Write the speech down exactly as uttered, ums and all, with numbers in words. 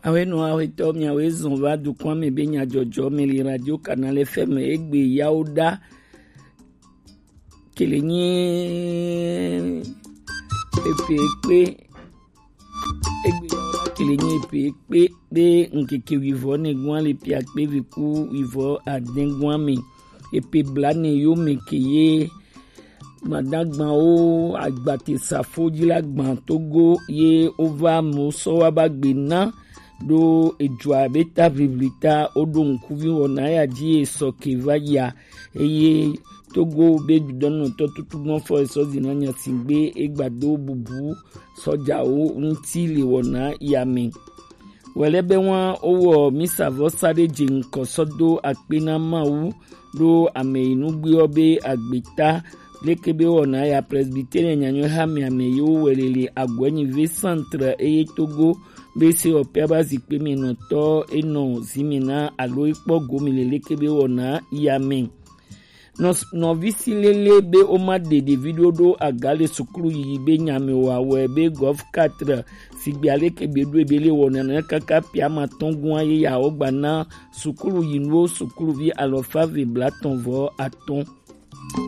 Awe no awe to mi awe zon va du kwa mi be nya jojo mi li radio kanale fm egbe yawo da kele nyi epe ekpe egbe yawo da kele nyi epe ekpe pe nkeke wivɔ ne gwan le pia kpe viku wivɔ aden gwan mi epe bla ne yo mi ke ye madagbawo agbate safo dzi la gbã togo ye wova mo sɔ wa ba gbe na ɖo edzua be ta ʋiʋli ta woɖo ŋkuvi wɔna ya dzi ye sɔ ke va yia eye togo be dudɔnɔtɔ tutu gbɔn fɔ esɔ zina nyasigbe egbado bubu sɔjawo ŋuti le wɔna ya me. Wɛlɛbɛ wa wowɔ misavɔsa ɖe dze ŋkɔ sɔ do akpe na Mawu ɖo ame yi nugbeɔ be agbeta leke be wɔna ya presbytere nyanyɔ ha me ame yi wo wɛlele agwɛnyi ve centre eye togo be se ɔpia ba zikpe me nɔtɔ enɔ zime na alo ekpɔ gomi le leke be wɔna ya me. Nɔvi si lele be woma ɖe ɖevi ɖo ɖo aga le sukulu yiyi be nya me wa wɛ be gɔf quatre sigbe aleke be ɖo ebe le wɔna na kaka pia ma tɔn gua ye ya wogba na sukulu yinuwo sukuluvi alɔfa ve blatɔn vɔ atɔn.